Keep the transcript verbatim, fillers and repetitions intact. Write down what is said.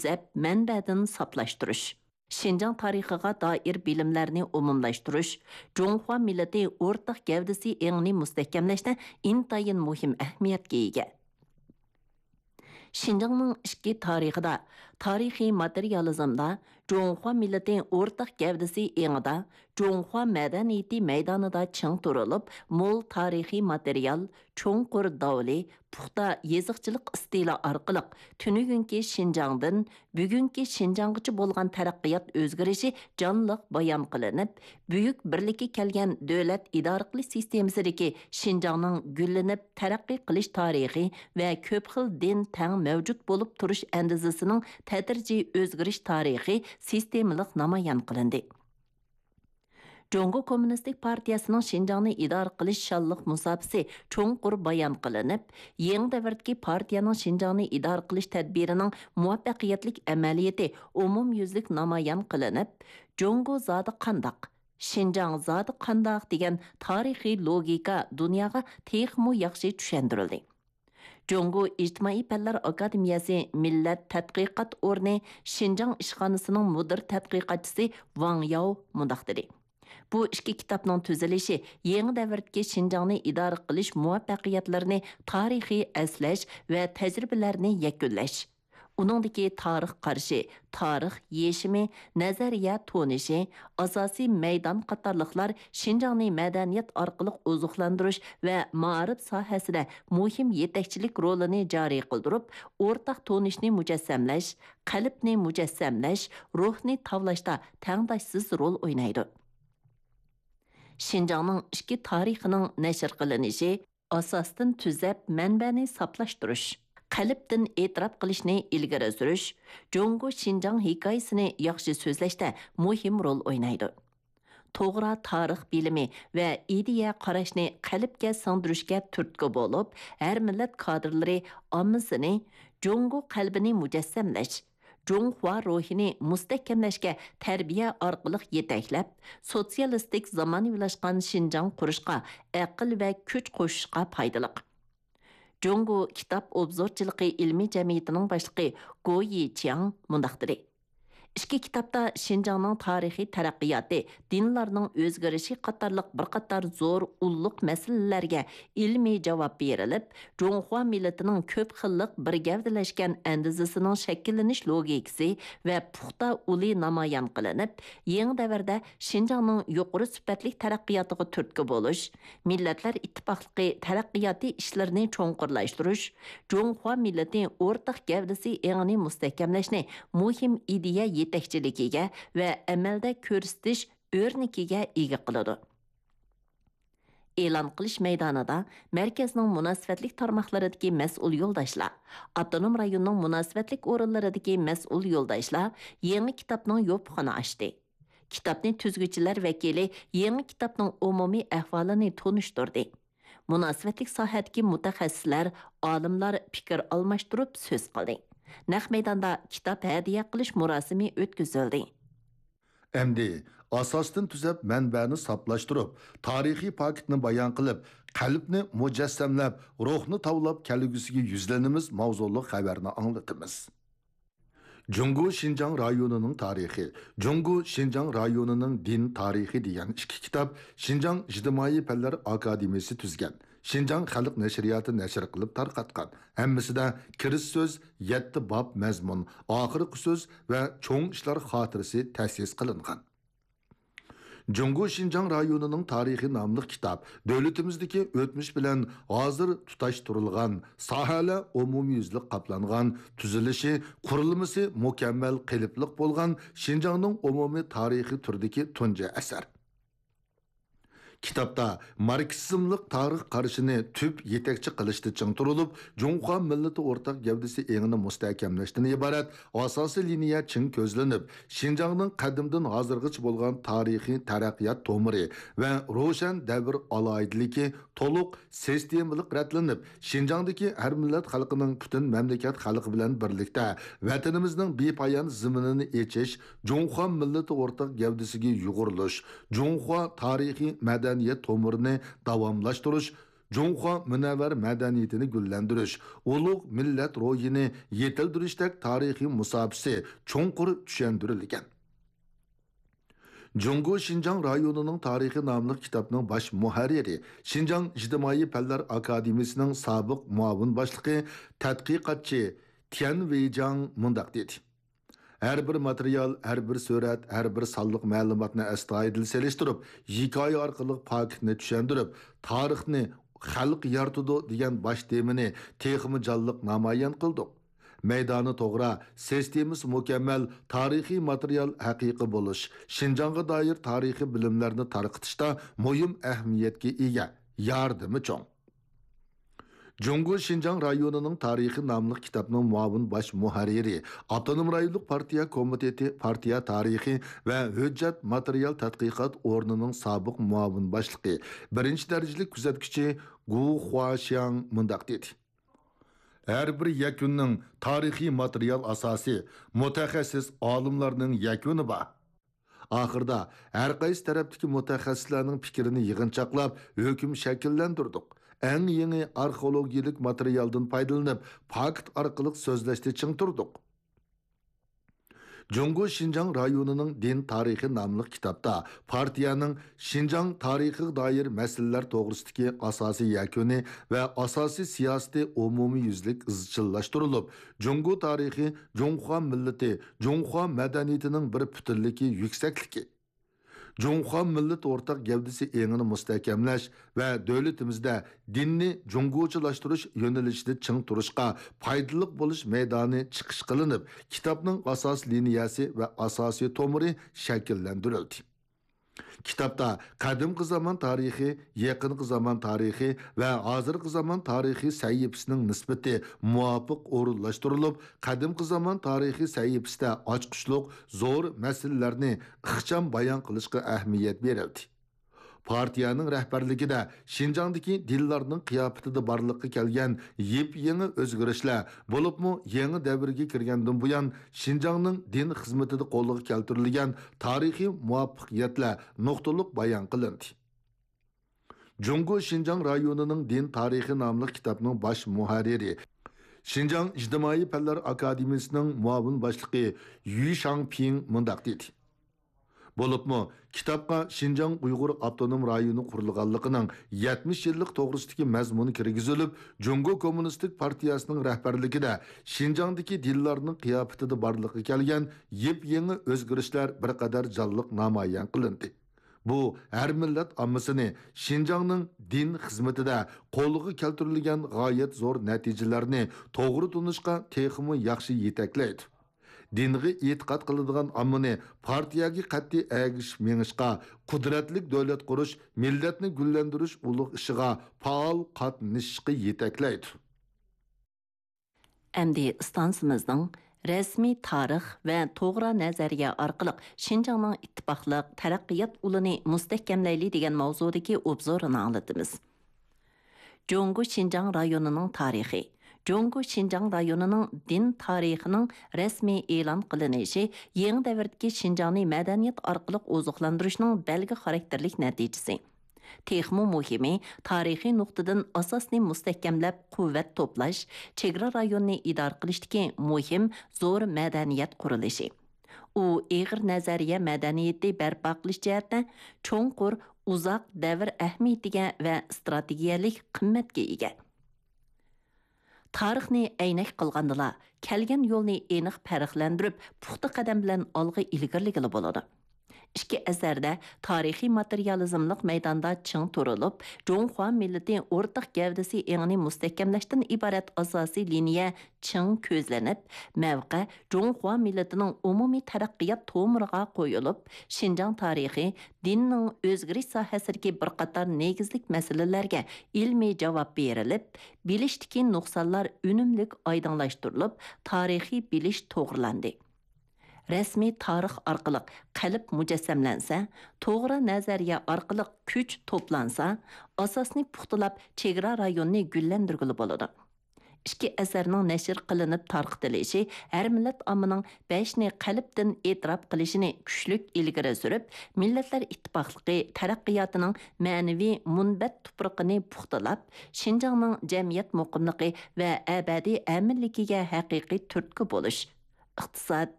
تۈزەپ، مەنبەدىن ساپلاشتۇرۇش، شىنجاڭ تارىخىغا دائىر بىلىملەرنى ئومۇملاشتۇرۇش، جۇڭخۇا مىللىتى ئورتاق گەۋدىسى ئېڭىنى مۇستەھكەملەشتە ئىنتايىن مۇھىم ئەھمىيەتكە ئىگە. شىنجاڭنىڭ ئىچكى تارىخىدا، تارىخىي ماتېرىيالىزمدا، جۇڭخۇا مىللىتى ئورتاق گەۋدىسى ئېڭىدا، جۇڭخۇا مەدەنىيىتى مەيدانىدا چىڭ تۇرۇلۇپ، مول تارىخىي ماتېرىيال، چوڭقۇر داۋلى، پۇختا يېزىقچىلىق ئىستىلى ئارقىلىق تۈنۈگۈنكى شىنجاڭدىن بۈگۈنكى شىنجاڭغىچە بولغان تەرەققىيات ئۆزگىرىشى جانلىق بايان قىلىنىپ، بۈيۈك بىرلىككە كەلگەن دۆلەت ئىدارە قىلىش سىستېمىسىدىكى شىنجاڭنىڭ گۈللىنىپ تەرەققىي قىلىش تارىخى ۋە كۆپ خىل دىن تەڭ مەۋجۇت بولۇپ تۇرۇش ئەندىزىسىنىڭ تەدرىجىي ئۆزگىرىش تارىخى سىستېمىلىق نامايان قىلىندى. جۇڭگو كوممۇنىستىك پارتىيەسىنىڭ شىنجاڭنى ئىدارە قىلىش شانلىق مۇساپىسى چوڭقۇر بايان قىلىنىپ، يېڭى دەۋردىكى پارتىيەنىڭ شىنجاڭنى ئىدارە قىلىش تەدبىرىنىڭ مۇۋەپپەقىيەتلىك ئەمەلىيىتى ئومۇميۈزلۈك نامايان قىلىنىپ، جۇڭگو زادى قانداق، شىنجاڭ زادى قانداق دېگەن تارىخىي لوگىكا دۇنياغا تېخىمۇ ياخشى چۈشەندۈرۈلدى. جۇڭگو ئىجتىمائىي پەنلەر ئاكادېمىيەسى مىللەت تەتقىقات ئورنى شىنجاڭ ئىشخانىسىنىڭ مۇدىر تەتقىقاتچىسى ۋاڭ ياۋ مۇنداق دېدى: بۇ ئىككى كىتابنىڭ تۈزۈلۈشى يېڭى دەۋردىكى شىنجاڭنى ئىدارە قىلىش مۇۋەپپەقىيەتلىرىنى تارىخىي ئەسلەش ۋە تەجرىبىلەرنى يەكۈنلەش، ئۇنىڭدىكى تارىخ قارىشى، تارىخ يېشىمى، نەزەرىيە تونۇشى، ئاساسىي مەيدان قاتارلىقلار شىنجاڭنى مەدەنىيەت ئارقىلىق ئوزۇقلاندۇرۇش ۋە مائارىپ ساھەسىدە مۇھىم يېتەكچىلىك رولىنى جارى قىلدۇرۇپ، ئورتاق تونۇشنى مۇجەسسەملەش، قەلبنى مۇجەسسەملەش، روھنى تاۋلاشتا تەڭداشسىز رول ئوينايدۇ. شىنجاڭنىڭ ئىچكى تارىخىنىڭ نەشر قىلىنىشى، ئاساستىن تۈزەپ مەنبەنى ساپلاشتۇرۇش، قەلبتىن ئېتىراپ قىلىشنى ئىلگىرى سۈرۈش، جۇڭگو شىنجاڭ ھېكايىسىنى ياخشى سۆزلەشتە مۇھىم رول ئوينايدۇ. توغرا تارىخ بىلىمى ۋە ئىدىيە قاراشنى قەلبكە سىڭدۈرۈشكە تۈرتكە بولۇپ، ھەر مىللەت كادىرلىرى ئاممىسىنى جۇڭگو قەلبىنى مۇجەسسەملەش، جۇڭخۇا روھىنى مۇستەھكەملەشكە تەربىيە ئارقىلىق يېتەكلەپ، سوتسىيالىستىك زامانىۋىلاشقان شىنجاڭ قۇرۇشقا ئەقىل ۋە كۈچ قوشۇشقا پايدىلىق. جۇڭگو كىتاب ئوبزورچىلىقى ئىلمىي جەمئىيىتىنىڭ باشلىقى گو يىچياڭ مۇنداق دېدى: ئىككى كىتابتا شىنجاڭنىڭ تارىخىي تەرەققىياتى، دىنلارنىڭ ئۆزگىرىشى قاتارلىق بىر قاتار زور ئۇللۇق مەسىلىلەرگە ئىلمىي جاۋاب بېرىلىپ، جۇڭخۇا مىللىتىنىڭ كۆپ خىللىق بىر گەۋدىلەشكەن ئەندىزىسىنىڭ شەكىللىنىش لوگىكىسى ۋە پۇختا ئۇلى نامايان قىلىنىپ، يېڭى دەۋردە شىنجاڭنىڭ يۇقىرى سۈپەتلىك تەرەققىياتىغا تۈرتكە بولۇش، مىللەتلەر ئىتتىپاقلىقى تەرەققىياتى ئىشلىرىنى چوڭقۇرلاشتۇرۇش، جۇڭخۇا مىللىتى ئورتاق گەۋدىسى ئېڭىنى مۇستەھكەملەشنى مۇھىم ئىدىيە يېتەكچىلىكىگە ۋە ئەمەلدە كۆرسىتىش ئۆرنىكىگە ئىگە قىلىدۇ. ئېلان قىلىش مەيدانىدا مەركەزنىڭ مۇناسىۋەتلىك تارماقلىرىدىكى مەسئۇل يولداشلار، ئاپتونوم رايوننىڭ مۇناسىۋەتلىك ئورۇنلىرىدىكى مەسئۇل يولداشلار يېڭى كىتابنىڭ يوپۇقىنى ئاچتى. كىتابنى تۈزگۈچىلەر ۋەكىلى يېڭى كىتابنىڭ ئومۇمىي ئەھۋالىنى تونۇشتۇردى. مۇناسىۋەتلىك ساھەدىكى مۇتەخەسسىسلەر، ئالىملار پىكىر ئالماشتۇرۇپ سۆز قىلدى. نەق مەيداندا كىتاب ھەدىيە قىلىش مۇراسىمى ئۆتكۈزۈلدى. ئەمدى ئاساستىن تۈزەپ، مەنبەنى ساپلاشتۇرۇپ، تارىخىي پاكىتنى بايان قىلىپ، قەلبنى مۇجەسسەملەپ، روھنى تاۋلاپ كەلگۈسىگە يۈزلىنىمىز ماۋزۇلۇق خەۋەرنى ئاڭلىتىمىز. جۇڭگو شىنجاڭ رايونىنىڭ تارىخى، جۇڭگو شىنجاڭ رايونىنىڭ دىن تارىخى دېگەن ئىككى كىتاب شىنجاڭ ئىجتىمائىي پەنلەر ئاكادېمىيەسى تۈزگەن، شىنجاڭ خەلق نەشرىياتى نەشر قىلىپ تارقاتقان. ھەممىسىدە كىرىش سۆز، يەتتە باب مەزمۇن، ئاخىرقى سۆز ۋە چوڭ ئىشلار خاتىرىسى تەسىس قىلىنغان. جۇڭگو شىنجاڭ رايونىنىڭ تارىخى ناملىق كىتاب دۆلىتىمىزدىكى ئۆتمۈش بىلەن ھازىر تۇتاشتۇرۇلغان، ساھەلەر ئومۇميۈزلۈك قاپلانغان، تۈزۈلۈشى، قۇرۇلمىسى مۇكەممەل قېلىپلىق بولغان شىنجاڭنىڭ ئومۇمىي تارىخى تۈرىدىكى تۇنجى ئەسەر. كىتابتا ماركسىزملىق تارىخ قارىشىنى تۈپ يېتەكچى قىلىشتا چىڭ تۇرۇلۇپ، جۇڭخۇا مىللىتى ئورتاق گەۋدىسى ئېڭىنى مۇستەھكەملەشتىن ئىبارەت ئاساسىي لىنىيە چىڭ كۆزلىنىپ، شىنجاڭنىڭ قەدىمدىن ھازىرغىچە بولغان تارىخىي تەرەققىيات تومۇرى ۋە روشەن دەۋر ئالاھىدىلىكى تولۇق سىستېمىلىق رەتلىنىپ، شىنجاڭدىكى ھەر مىللەت خەلقىنىڭ پۈتۈن مەملىكەت خەلقى بىلەن بىرلىكتە ۋەتىنىمىزنىڭ بىپايان زېمىنىنى ئېچىش، جۇڭخۇا مىللىتى ئورتاق گەۋدىسىگە يۇغۇرۇلۇش، جۇڭخۇا تارىخىي مەدەنىيەت تومۇرىنى داۋاملاشتۇرۇش، جۇڭخۇا مۇنەۋۋەر مەدەنىيىتىنى گۈللەندۈرۈش، ئۇلۇغ مىللەت روھىنى يېتىلدۈرۈشتەك تارىخىي مۇساپىسى چوڭقۇر چۈشەندۈرۈلگەن. جۇڭگو شىنجاڭ رايونىنىڭ تارىخى ناملىق كىتابنىڭ باش مۇھەررىرى، شىنجاڭ ئىجتىمائىي پەنلەر ئاكادېمىيىسىنىڭ سابىق مۇئاۋىن باشلىقى، تەتقىقاتچى تيەن ۋېيجاڭ مۇنداق دېدى: ھەر بىر ماتېرىيال، ھەر بىر سۈرەت، ھەر بىر سانلىق مەلۇماتنى ئەستايىدىل سېلىشتۇرۇپ، ھېكايە ئارقىلىق پاكىتنى چۈشەندۈرۈپ، تارىخنى خەلق يارىتىدۇ دېگەن باش تېمىنى تېخىمۇ جانلىق نامايان قىلدۇق. مەيدانى توغرا، سىستېمىسى مۇكەممەل تارىخىي ماتېرىيال ھەقىقىي بولۇش، شىنجاڭغا دائىر تارىخىي بىلىملەرنى تارقىتىشتا مۇھىم ئەھمىيەتكە ئىگە، ياردىمى چوڭ. جۇڭگو شىنجاڭ رايونىنىڭ تارىخى ناملىق كىتابنىڭ مۇئاۋىن باش مۇھەررىرى، ئاپتونوم رايونلۇق پارتىيە كومىتېتى پارتىيە تارىخى ۋە ھۆججەت ماتېرىيال تەتقىقات ئورنىنىڭ سابىق مۇئاۋىن باشلىقى، بىرىنچى دەرىجىلىك كۆزەتكۈچى گۇ خۇاشياڭ مۇنداق دېدى: ھەر بىر يەكۈننىڭ تارىخىي ماتېرىيال ئاساسى، مۇتەخەسسىس ئالىملارنىڭ يەكۈنى بار. ئاخىرىدا ھەر قايسى تەرەپتىكى مۇتەخەسسىسلەرنىڭ پىكرىنى يىغىنچاقلاپ، ھۆكۈم شەكىللەندۈردۇق. ئەڭ يېڭى ئارخېئولوگىيەلىك ماتېرىيالدىن پايدىلىنىپ، پاكىت ئارقىلىق سۆزلەشتە چىڭ تۇردۇق. جۇڭگو شىنجاڭ رايونىنىڭ دىن تارىخى ناملىق كىتابتا پارتىيەنىڭ شىنجاڭ تارىخىغا دائىر مەسىلىلەر توغرىسىدىكى ئاساسىي يەكۈنى ۋە ئاساسىي سىياسىتى ئومۇميۈزلۈك ئىزچىللاشتۇرۇلۇپ، جۇڭگو تارىخى، جۇڭخۇا مىللىتى، جۇڭخۇا مەدەنىيىتىنىڭ بىر پۈتۈنلۈكى يۈكسەكلىكى، جۇڭخۇا مىللەت ئورتاق گەۋدىسى ئېڭىنى مۇستەھكەملەش ۋە دۆلىتىمىزدە دىننى جۇڭگوچىلاشتۇرۇش يۆنىلىشىدە چىڭ تۇرۇشقا پايدىلىق بولۇش مەيدانى چىقىش قىلىنىپ، كىتابنىڭ ئاساسىي لىنىيەسى ۋە ئاساسىي تومۇرى شەكىللەندۈرۈلدى. كىتابتا قەدىمكى زامان تارىخى، يېقىنقى زامان تارىخى ۋە ھازىرقى زامان تارىخى سەھىپىسىنىڭ نىسبىتى مۇۋاپىق ئورۇنلاشتۇرۇلۇپ، قەدىمكى زامان تارىخى سەھىپىسىدە ئاچقۇچلۇق زور مەسىلىلەرنى ئىخچام بايان قىلىشقا ئەھمىيەت بېرىلدى. پارتىيەنىڭ رەھبەرلىكىدە شىنجاڭدىكى دىنلارنىڭ قىياپىتىدە بارلىققا كەلگەن يېپيېڭى ئۆزگىرىشلەر، بولۇپمۇ يېڭى دەۋرگە كىرگەندىن بۇيان شىنجاڭنىڭ دىن خىزمىتىدە قولغا كەلتۈرۈلگەن تارىخىي مۇۋەپپەقىيەتلەر نۇقتىلىق بايان قىلىندى. جۇڭگو شىنجاڭ رايونىنىڭ دىن تارىخى ناملىق كىتابنىڭ باش مۇھەررىرى، شىنجاڭ ئىجتىمائىي پەنلەر ئاكادېمىيىسىنىڭ مۇئاۋىن باشلىقى يۈ شاڭپىڭ مۇنداق دېدى: بولۇپمۇ، كىتابقا شىنجاڭ ئۇيغۇر ئاپتونوم رايونى قۇرۇلغانلىقىنىڭ يەتمىش يىللىق توغرىسىدىكى مەزمۇن كىرگۈزۈلۈپ، جۇڭگو كوممۇنىستىك پارتىيەسىنىڭ رەھبەرلىكىدە شىنجاڭدىكى دىنلارنىڭ قىياپىتىدە بارلىققا كەلگەن يېپيېڭى ئۆزگىرىشلەر بىر قەدەر جانلىق نامايان قىلىندى. بۇ ھەر مىللەت ئاممىسىنى شىنجاڭنىڭ دىن خىزمىتىدە قولغا كەلتۈرۈلگەن غايەت زور نەتىجىلەرنى توغرا تونۇشقا تېخىمۇ ياخشى يېتەكلەيدۇ. دىنغا ئېتىقاد قىلىدىغان ئاممىنى پارتىيەگە قەتئىي ئەگىشىپ مېڭىشقا، قۇدرەتلىك دۆلەت قۇرۇش، مىللەتنى گۈللەندۈرۈش ئۇلۇغ ئىشىغا پائال قاتنىشىشقا يېتەكلەيدۇ. ئەمدى ئىستانسىمىزنىڭ رەسمىي تارىخ ۋە توغرا نەزەرىيە ئارقىلىق شىنجاڭنىڭ ئىتتىپاقلىق، تەرەققىيات ئۇلىنى مۇستەھكەملەيلى دېگەن ماۋزۇدىكى ئوبزورىنى ئاڭلىتىمىز. جۇڭگو شىنجاڭ رايونىنىڭ تارىخى. جۇڭگو شىنجاڭ رايونىنىڭ دىن تارىخىنىڭ رەسمىي ئېلان قىلىنىشى يېڭى دەۋردىكى شىنجاڭنى مەدەنىيەت ئارقىلىق ئوزۇقلاندۇرۇشنىڭ بەلگە خاراكتېرلىك نەتىجىسى. تېخىمۇ مۇھىمى، تارىخىي نۇقتىدىن ئاساسنى مۇستەھكەملەپ، قۇۋۋەت توپلاش، چېگرا رايونىنى ئىدارە قىلىشتىكى مۇھىم زور مەدەنىيەت قۇرۇلۇشى. ئۇ ئېغىر نەزەرىيە مەدەنىيىتى بەرپا قىلىش جەھەتتە چوڭقۇر، ئۇزاق دەۋر ئەھمىيىتىگە ۋە ئىستراتېگىيەلىك قىممەتكە ئىگە. تارىخنى ئەينەك قىلغاندىلا، كەلگەن يولنى ئېنىق پەرقلەندۈرۈپ، پۇختا قەدەم بىلەن ئالغا ئىلگىرىلىگىلى بولىدۇ. ئىككى ئەسەردە تارىخىي ماتېرىيالىزملىق مەيداندا چىڭ تۇرۇلۇپ، جۇڭخۇا مىللىتى ئورتاق گەۋدىسى ئېڭىنى مۇستەھكەملەشتىن ئىبارەت ئاساسىي لىنىيە چىڭ كۆزلىنىپ، مەۋقە جۇڭخۇا مىللىتىنىڭ ئومۇمىي تەرەققىيات تومۇرىغا قويۇلۇپ، شىنجاڭ تارىخى، دىننىڭ ئۆزگىرىش ساھەسىدىكى بىر قاتار نېگىزلىك مەسىلىلەرگە ئىلمىي جاۋاب بېرىلىپ، بىلىشتىكى نۇقسانلار ئۈنۈملۈك ئايدىڭلاشتۇرۇلۇپ، تارىخىي بىلىش توغرىلاندى. رەسمىي تارىخ ئارقىلىق قەلب مۇجەسسەملەنسە، توغرا نەزەرىيە ئارقىلىق كۈچ توپلانسا، ئاساسنى پۇختىلاپ، چېگرا رايونىنى گۈللەندۈرگىلى بولىدۇ. ئىككى ئەسەرنىڭ نەشر قىلىنىپ تارقىتىلىشى ھەر مىللەت ئاممىنىڭ بەشنى قەلبتىن ئېتىراپ قىلىشىنى كۈچلۈك ئىلگىرى سۈرۈپ، مىللەتلەر ئىتتىپاقلىقى تەرەققىياتىنىڭ مەنىۋى مۇنبەت تۇپرىقىنى پۇختىلاپ، شىنجاڭنىڭ جەمئىيەت مۇقىملىقى ۋە ئەبەدىي ئەمىنلىكىگە ھەقىقىي تۈرتكە بولۇش، ئىقتىساد،